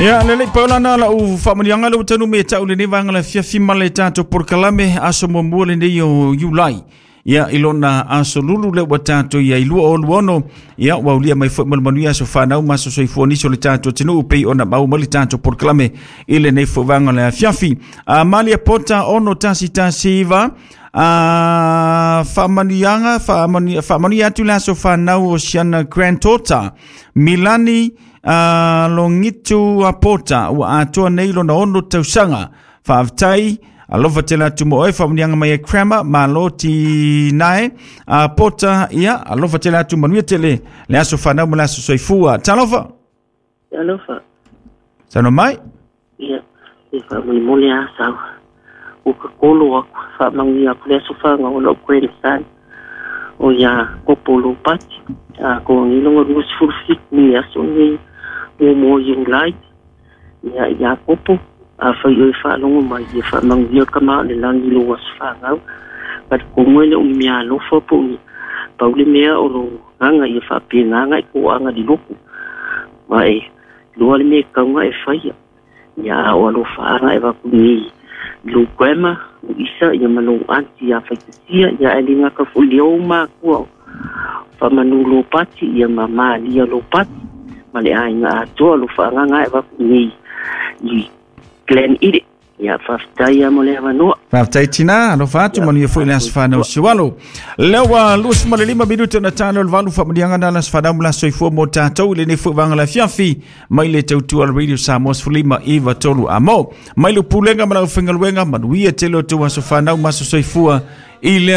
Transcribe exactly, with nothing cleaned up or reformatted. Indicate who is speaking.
Speaker 1: Ia le lei paulana la u faamanuiaga le ua taunuu mai e ta'u lenei vaega le afiafi ma le tatou polokalame aso muamua lenei o Iulai. Ia i lona aso lulu le ua tatou ia i lua o luono. Ia ua ulia mai foi ma le manuia aso fanau ma aso soifua nisi o le tatou atunuu pei ona mau mai le tatou polokalame i lenei foi vaega le afiafi. A Malia Pota ono tasi tasi iva a faamanuiaga faamanuia faamanuia atu le aso fanau o siana granddaughter Milani uh, Longitu Apota ua atoa nei lona ono tausaga. Faafetai alofa tele atu mo oe faamanuiaga mai e Kramer malo ti nae Apota ia alofa tele atu manuia tele le aso fanau ma le aso soifua. Talofa.
Speaker 2: Alofa.
Speaker 1: Sano mai.
Speaker 2: Ia, e faamolemole a sau. O ka kolo aku, faamanuia aku le aso faga o lou grandson. O ia kopo Lopati. A ko ngilonga lua sefulu fitu ni aso nei muamua o Iulai. Ia ia kopo afai oe faalogo mai ia faamanuia ka ma o le lagi lou aso fagau. Talitonu e le o ni mea alofa po o ni pau le mea o lo gaga ia faapegaga i koaga liloku. Ma e loa le mea e kauga e faia. Ia a o alofaaga e vaku nei lou grandma o isa ia ma lou aunty ia faitasia ia ae le gata foi le ou makua o faamanu Lopati ia ma Malia Lopati ma le aiga atoa lo faagaga e vaku nei i Glen Ile. Ia faafetai ia mo le avanoa.
Speaker 1: Faafetai tina, alofa atu manuia foi le aso fanau siualo. Lea ua luasefulu ma le lima minuti ona tano le valu faamanuiaga na le aso fanau ma le aso soifua mo tatou i lenei foi vaega le afiafi mai le tautua le Radio Samoa sefulu lima iva tolu amo. Mai le pulega ma lau faigaluega manuia tele o tou aso fanau ma aso soifua i le